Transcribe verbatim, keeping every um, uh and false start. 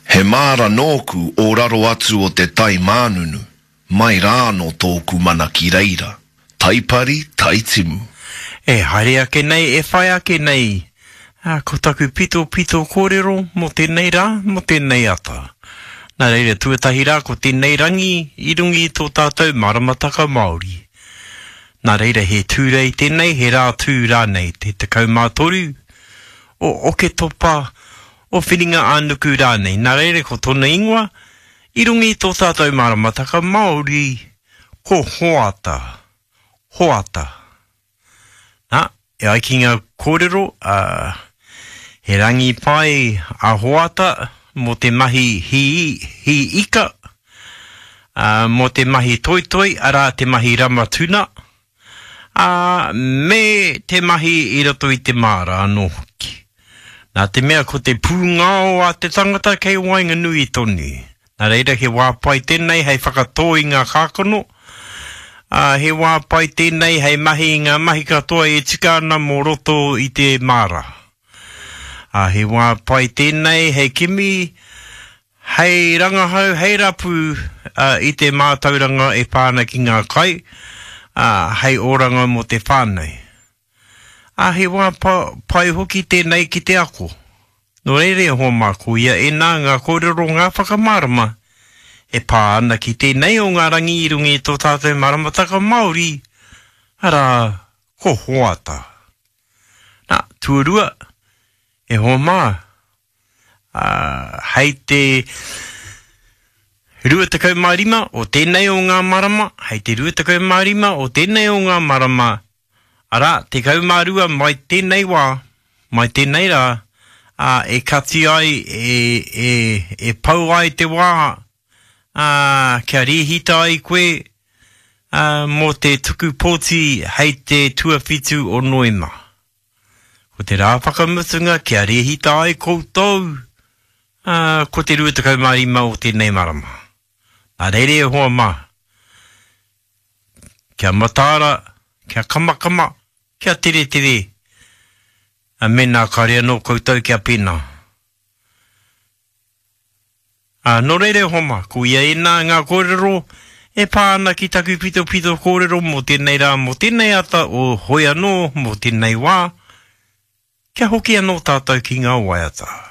He māra nōku o raro atu o te tai mānunu, mai rānō tōku mana ki reira. Taipari, taitimu. E haere ake nei, e whai ake nei, ā, ko taku pitopito kōrero mō tēnei rā, mō tēnei ata. Nā reira, tuatahi rā, ko tēnei rangi i runga i tō tātou maramataka Māori. Nā reira, he Tūrei tēnei, he rā tū rānei, te tekau mā toru o Oketopa, o Whiringa-ā-nuku rānei. Nā reira, ko tōna ingoa, i runga i tō tātou maramataka Māori, ko Hoata. Hoata. Nā, e ai ki ngā kōrero, ā, he rangi pai a Hoata mō te mahi hī, hī ika, ā, mō te mahi toitoi, arā, te mahi rama tuna, ā, me te mahi i roto i te māra anō hoki. Nā te mea ko te pūngao a te tangata kei waenganui tonu. Nā reira he wā pai tēnei hei whakatō i ngā kākano, ā, he wā pai tēnei hei mahi i ngā mahi katoa e tika ana mō roto i te māra. Ā, he wā pai tēnei hei kimi, hei rangahau, hei rapu i te mātauranga e pā ana ki ngā kai, ā, hei oranga mō te whānau. Ā, he wā pai hoki tēnei ki te ako. Nō reira e hoa mā, koia ēnā ngā kōrero, ngā whakamārama e pā ana ki tēnei o ngā rangi i runga i tō tātou maramataka Māori, arā, ko Hoata. Nā, tuarua, e hoa mā, ā, hei te rua tekau mā rima o tēnei o ngā marama, hei te rua tekau mā rima o tēnei o ngā marama, arā, tekau mā rua mai tēnei wā, mai tēnei rā, ā, e kati ai, e, e, e pau ai te wā, ā, kia rēhita ai koe, ā, mō te tuku pōti hei te tuawhitu o Noema. Ko te rā whakamutunga kia rēhita ai koutou, ā, ko te rua tekau mā rima o tēnei marama. Nā reira e hoa mā, kia mataara, kia kamakama, kia teretere, ā, mēnā kāre anō koutou kia pēnā. Ā, nō reira e hoa mā, ko ia ēnā ngā kōrero e pā ana ki taku pitopito kōrero mō tēnei rā, mō tēnei ata o hoi anō mō tēnei wā, kia hoki anō tātou ki ngā waiata.